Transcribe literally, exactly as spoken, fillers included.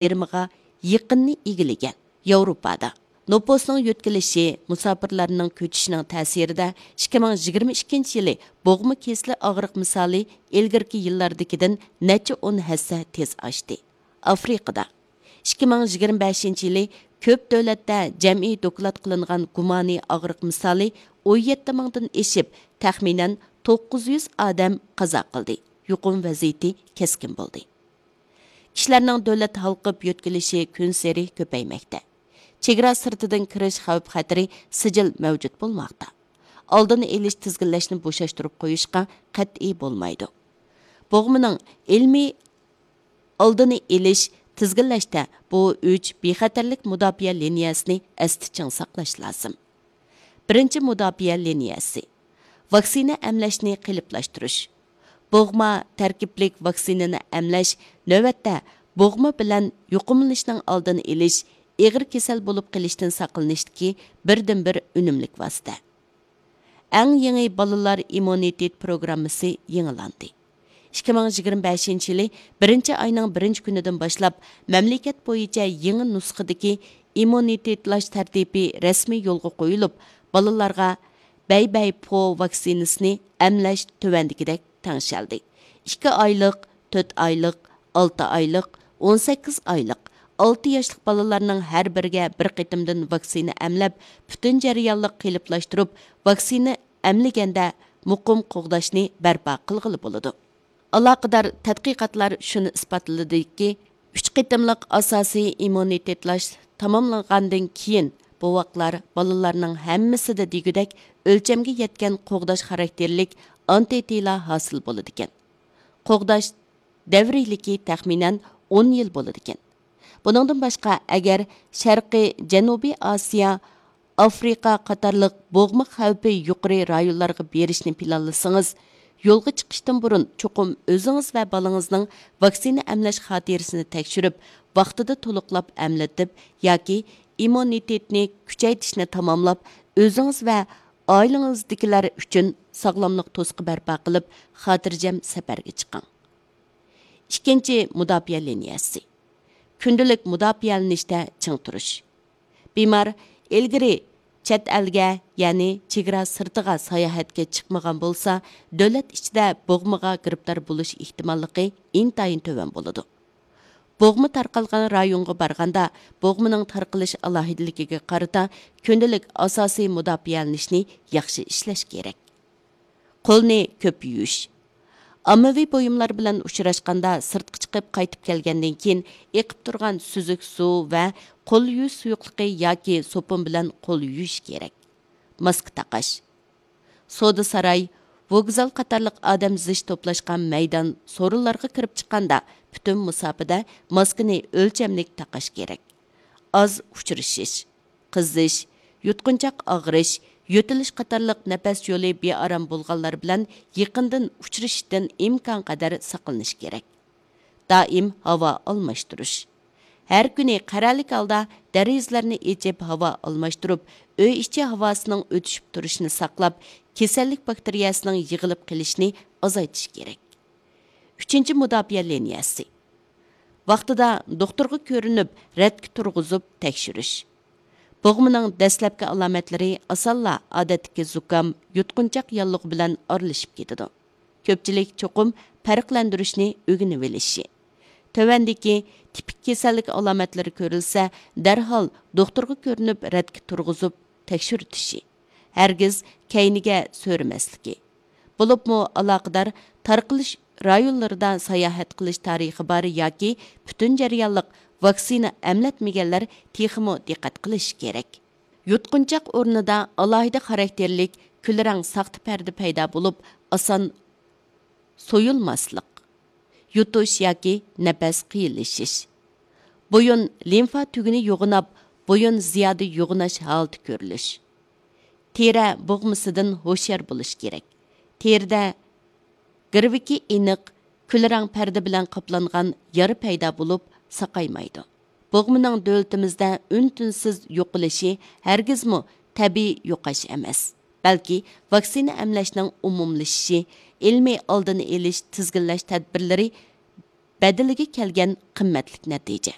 يېرىمىغا يېقىننى ئىگىلىگەن. ياۋروپادا نوپۇسنىڭ يۆتكىلىشى، مۇساپىرلارنىڭ كۆچۈشىنىڭ تەسىرىدە ئىككى مىڭ يىگىرمە ئىككىنچى يىلى بوغما كېسىلى ئاغرىق مىسالى ئىلگىرىكى يىللاردىكىدىن نەچچە ئون ھەسسە تېز ئاشتى. ئافرىقىدا ئىككى مىڭ يىگىرمە بەشىنچى يىلى كۆپ دۆلەتتە جەمئىي دوكلات قىلىنغان گۇمانىي ئاغرىق مىسالى ئون يەتتە مىڭدىن ئېشىپ، تەخمىنەن توققۇز يۈز ئادەم قازا قىلدى، يۇقۇم ۋەزىيىتى كەسكىن بولدى. كىشىلەرنىڭ دۆلەت ھالقىپ يۆتكىلىشى كۈنسېرى كۆپەيمەكتە. چېگرا سىرتىدىن كىرىش خەۋپ خەتىرى سىجىل مەۋجۇت بولماقتا. ئالدىنى ئېلىش، تىزگىنلەشنى بوشاشتۇرۇپ قويۇشقا قەتئىي بولمايدۇ. بوغمىنىڭ ئىلمىي ئالدىنى ئېلىش، تىزگىنلەشتە بۇ ئۈچ بىخەتەرلىك مۇداپىئە لىنىيەسىنى ئەستە چىڭ ساقلاش لازىم. بىرىنچى مۇداپىئە لىنىيەسى، ۋاكسىنا ئەملەشنى قېلىپلاشتۇرۇش. بوغما تەركىبلىك ۋاكسىنىنى ئەملەش نۆۋەتتە بوغما بىلەن يۇقۇملىنىشنىڭ ئالدىنى ئېلىش، ئېغىر كېسەل بولۇپ قېلىشتىن ساقلىنىشتىكى بىردىنبىر ئۈنۈملۈك ۋاسىتە. ئەڭ يېڭى بالىلار ئىممۇنىتېت پروگراممىسى يېڭىلاندى. ئىككى مىڭ يىگىرمە بەشىنچى يىلى بىرىنچى ئاينىڭ بىرىنچى كۈنىدىن باشلاپ، مەملىكەت بويىچە يېڭى نۇسخىدىكى ئىممۇنىتېتلاش تەرتىپى رەسمىي يولغا قويۇلۇپ، بالىلارغا بەي بەي پو ۋاكسىنىسىنى ئەملەش تۆۋەندىكىدەك تەڭشەلدى. ئىككى ئايلىق، تۆت ئايلىق، ئالتە ئايلىق، ئون سەككىز ئايلىق، ئالتە ياشلىق بالىلارنىڭ ھەر بىرىگە بىر قېتىمدىن ۋاكسىنا ئەملەپ، پۈتۈن جەريانلىق قېلىپلاشتۇرۇپ، ۋاكسىنا ئەملىگەندە مۇقىم قوغداشنى بەرپا قىلغىلى بولىدۇ. ئالاقىدار تەتقىقاتلار شۇنى ئىسپاتلىدىكى، ئۈچ قېتىملىق ئاساسىي ئىممۇنىتېتلاش تاماملانغاندىن كېيىن، بوۋاقلار بالىلارنىڭ ھەممىسىدە دېگۈدەك ئۆلچەمگە يەتكەن قوغداش خاراكتېرلىك ئانتىتېلا ھاسىل بولىدىكەن. قوغداش دەۋرىيلىكى تەخمىنەن ئون يىل بولىدىكەن. بۇنىڭدىن باشقا، ئەگەر شەرقىي جەنۇبىي ئاسىيا، ئافرىقا قاتارلىق بوغما خەۋپى يۇقىرى رايونلارغا بېرىشنى پىلانلىسىڭىز، يولغا چىقىشتىن بۇرۇن چوقۇم ئۆزىڭىز ۋە بالىڭىزنىڭ ۋاكسىنا ئەملەش خاتىرىسىنى تەكشۈرۈپ، ۋاقتىدا تولۇقلاپ ئەملىتىپ ياكى ئىممۇنىتېتنى كۈچەيتىشنى تاماملاپ، ئۆزىڭىز ۋە ئائىلىڭىزدىكىلەر ئۈچۈن ساغلاملىق توسۇقى بەرپا قىلىپ، خاتىرجەم سەپەرگە چىقىڭ. ئىككىنچى، مۇداپىئە لىنىيەسى. كۈندىلىك مۇداپىئەلىنىشتە چىڭ تۇرۇش. بىمار ئىلگىرى چەت ئەلگە، يەنى چېگرا سىرتىغا ساياھەتكە چىقمىغان بولسا، دۆلەت ئىچىدە بوغمىغا گىرىپتار بولۇش ئېھتىماللىقى ئىنتايىن تۆۋەن بولىدۇ. بوغما تارقالغان رايونغا بارغاندا، بوغمىنىڭ تارقىلىش ئالاھىدىلىكىگە قارىتا كۈندىلىك ئاساسىي مۇداپىئەلىنىشنى ياخشى ئىشلەش كېرەك. قولنى كۆپ يۇيۇش. ئاممىۋى بۇيۇملار بىلەن ئۇچراشقاندا، سىرتقا چىقىپ قايتىپ كەلگەندىن كېيىن ئېقىپ تۇرغان سۈزۈك سۇ ۋە قول يۇيۇش سۇيۇقلۇقى ياكى سوپۇن بىلەن قول يۇيۇش كېرەك. ماسكا تاقاش. سودا ساراي، ۋوگزال قاتارلىق ئادەم زىچ توپلاشقان مەيدان سورۇنلارغا كىرىپ چىققاندا، پۈتۈن مۇساپىدە ماسكىنى ئۆلچەملىك تاقاش كېرەك. ئاز ئۇچرىشىش، قىزىش، يۇتقۇنچاق ئاغرىش، يۆتىلىش قاتارلىق نەپەس يولى بىئارام بولغانلار بىلەن يېقىندىن ئۇچرىشىشتىن ئىمكانقەدەر ساقلىنىش كېرەك. دائىم ھاۋا ئالماشتۇرۇش. ھەر كۈنى قەرەللىك ھالدا دېرىزىلەرنى ئېچىپ ھاۋا ئالماشتۇرۇپ، ئۆي ئىچى ھاۋاسىنىڭ ئۆتۈشۈپ تۇرۇشىنى ساقلاپ، كېسەللىك باكتېرىيەسىنىڭ يىغىلىپ قېلىشىنى ئازايتىش كېرەك. ئۈچىنچى، مۇداپىئە لىنىيەسى. ۋاقتىدا دوختۇرغا كۆرۈنۈپ، رەتكە تۇرغۇزۇپ تەكشۈرۈش. بوغمىنىڭ دەسلەپكى ئالامەتلىرى ئاسانلا ئادەتتىكى زۇكام، يۇتقۇنچاق ياللۇغى بىلەن ئارىلىشىپ كېتىدۇ. كۆپچىلىك چوقۇم پەرقلەندۈرۈشنى ئۆگىنىۋېلىشى. تۆۋەندىكى تىپىك كېسەللىك ئالامەتلىرى كۆرۈلسە، دەرھال دوختۇرغا كۆرۈنۈپ، رەتكە تۇرغۇزۇپ تەكشۈرتۈشى. ھەرگىز كەينىگە سۆرىمەسلىكى. بولۇپمۇ ئالاقىدار تارقىلىش رايونلىرىدا ساياھەت قىلىش تارىخى بار ياكى پۈتۈن جەريانلىق ۋاكسىنا ئەملەتمىگەنلەر تېخىمۇ دىققەت قىلىشى كېرەك. يۇتقۇنچاق ئورنىدا ئالاھىدە خاراكتېرلىك كۈلرەڭ ساختا پەردە پەيدا بولۇپ، ئاسان سويۇلماسلىق، يۇتۇش ياكى نەپەس قىيىنلىشىش، بويۇن لىمفا تۈگۈنى يوغىناپ، بويۇن زىيادە يوغىناش ھالىتى كۆرۈلۈش. تېرە بوغمىسىدىن ھوشيار بولۇش كېرەك. تېرىدە گىرۋىكى ئېنىق، كۈلرەڭ پەردە بىلەن قاپلانغان يارا پەيدا بولۇپ، ساقايمايدۇ. بوغمىنىڭ دۆلىتىمىزدە ئۈن-تىنسىز يوقىلىشى ھەرگىزمۇ تەبىئىي يوقاش ئەمەس، بەلكى ۋاكسىنا ئەملەشنىڭ ئومۇملىشىشى، ئىلمىي ئالدىنى ئېلىش، تىزگىنلەش تەدبىرلىرى بەدىلىگە كەلگەن قىممەتلىك نەتىجە.